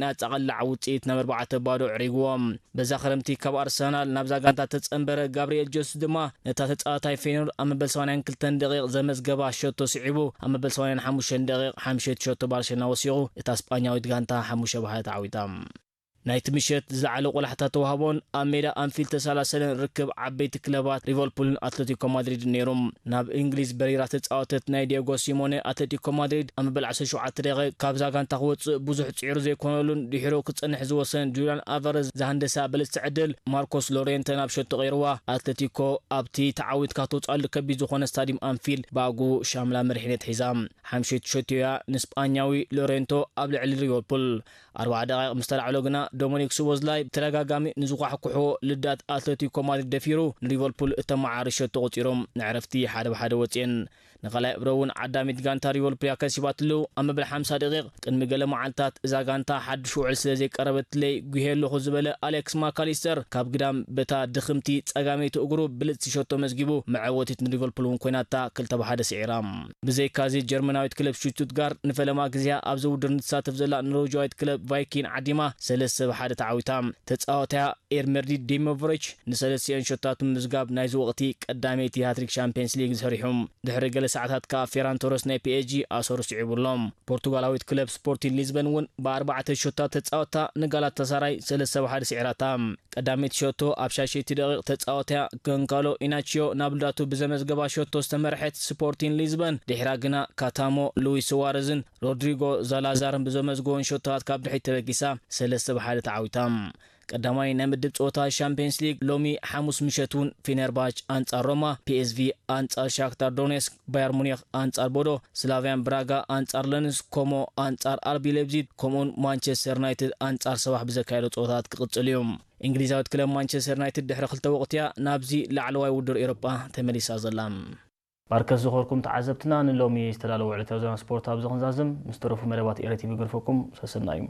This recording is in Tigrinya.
ናጻ ቀላዕ ውጽኢት ናብ ኣርባዕተ ባዶ ዕሪግዎም። በዛ ክረምቲ ካብ ኣርሰናል ናብዛ ጋንታ ተጸንበረ ጋብርኤል ጀሱስ ድማ ነታ ተጻዋታይ ፌኖርድ ኣብ መበል ሰማንያን ክልተን ደቂቕ ዘመዝገባ ሸቶ ስዒቡ፣ ኣብ መበል ሰማንያን ሓሙሽተን ደቂቕ ሓምሸይቲ ሸቶ ባርሴሎና ወሲኹ፣ እታ ስጳኛዊት ጋንታ ሓሙሽተ ብሓደ ተዓዊታ። ናይቲ ምሸት ዝለዓለ ቆላሕታ ተዋህቦን ኣብ ሜዳ ኣንፊልድ ተሳላሰለን ርክብ ዓበይቲ ክለባት ሊቨርፑልን ኣትለቲኮ ማድሪድን ነይሩ። ናብ እንግሊዝ በሪራ ተጻወተት ናይ ዲየጎ ሲሞኔ ኣትለቲኮ ማድሪድ ኣብ መበል ዓሰርተ ሸውዓተ ደቂቕ ካብዛ ጋንታ ክወጽእ ብዙሕ ጽዒሩ ዘይኮነሉን ድሒሩ ክጸንሕ ዝወሰን ጁልያን ኣልቫረዝ ዝሃንደሳ ብልጽቲ ዕድል ማርኮስ ሎሬንተ ናብ ሸቶ ቀይርዋ። ኣትለቲኮ ኣብቲ ተዓዊትካ ትወጽኣሉ ከቢድ ዝኾነ ስታዲየም ኣንፊልድ ብኣግኡ ሻምላ መሪሕነት ሒዛ። ሓምሸይቲ ሸቶ እያ ንስጳኛዊ ሎሬንቶ ኣብ ልዕሊ ሊቨርፑል። ኣርባዓ ደቂቕ ምስ ተላዕሎ ግና ዶሚኒክ ሶቦዝላይ ብተደጋጋሚ ንዝኳሕኩሕዎ ልዳት ኣትለቲኮ ማድሪድ ደፊሩ ንሊቨርፑል እተመዓሪ ሸቶ ቆጺሮም ንዕረፍቲ ሓደ ብሓደ ወጽኤን። ንኻልኣይ እብረ እውን ዓዳሚት ጋንታ ሊቨርፑል እያ ከሲባትሉ። ኣብ መበል ሓምሳ ደቂቕ ቅድሚ ገለ መዓልታት እዛ ጋንታ ሓድሽ ውዕል ስለ ዘይቀረበትለይ ጉሄ ኣለኹ ዝበለ ኣሌክስ ማካሊስተር ካብ ግዳም በታ ድኽምቲ ጸጋመይቲ እግሩ ብልጽቲ ሸቶ መዝጊቡ መዐወቲት ንሊቨርፑል እውን ኮይናታ ክልተ ብሓደ ስዒራ። ብዘይካዚ ጀርመናዊት ክለብ ሽቱትጋርት ንፈለማ ግዜያ ኣብዚ ውድድር ንትሳተፍ ዘላ ኖርዌጃዊት ክለብ ቫይኪን ዓዲማ ሰለስተ ብሓደ ተዓዊታ። ተጻዋታያ ኤርመርዲ ዲሞቭሪች ንሰለስቲኦን ሸቶታት ብምምዝጋብ ናይዚ ወቕቲ ቀዳመይቲ ሃትሪክ ሻምፒየንስ ሊግ ሰሪሑ። ድሕሪ ገለ ሰዓታት ከኣ ፌራን ቶረስ ናይ ፒኤስጂ ኣሰሩ ስዒቡ ኣሎ። ፖርቱጋላዊት ክለብ ስፖርቲንግ ሊዝበን እውን ብኣርባዕተ ሸቶታት ተጻወታ ንጋላታሳራይ ሰለስተ ብሓደ ስዒራታ። ቀዳመይቲ ሸቶ ኣብ ሻሸይቲ ደቂቕ ተጻወታያ ጎንካሎ ኢናቺዮ ናብ ልዳቱ ብዘመዝገባ ሸቶ ዝተመርሐት ስፖርቲንግ ሊዝበን ድሕራ ግና ካታሞ፣ ሉዊስ ሱዋረዝን ሮድሪጎ ዛላዛርን ብዘመዝግቦን ሸቶታት ካብ ድሕሪት ተበጊሳ ሰለስተ ብሓደ ተዓዊታ። ቀዳማይ ናይ ምድብ ጸወታ ሻምፒየንስ ሊግ ሎሚ ሓሙስ ምሸት እውን ፌነርባች ኣንጻር ሮማ፣ ፒኤስቪ ኣንጻር ሻክታር ዶኔስክ፣ ባየር ሙኒክ ኣንጻር ቦዶ፣ ስላቪያን ብራጋ ኣንጻር ለንስ፣ ኮሞ ኣንጻር ኣርቢ ሌብዚግ፣ ከምኡውን ማንቸስተር ዩናይትድ ኣንጻር ሰባሕ ብዘካየዶ ጸወታት ክቕጽል እዩ። እንግሊዛዊት ክለብ ማንቸስተር ዩናይትድ ድሕሪ ክልተ ወቕትያ ናብዚ ላዕለዋይ ውድድር ኤውሮጳ ተመሊሳ ዘላ። ባርከስ ዝኾርኩም ተዓዘብትና፣ ንሎሚ ዝተዳለወ ዕለታዊ ዜና ስፖርት ኣብዚ ክንዛዝም፣ ምስ ተረፉ መደባት ኤረ ቲቪ ገርፈኩም ሰሰናዩ።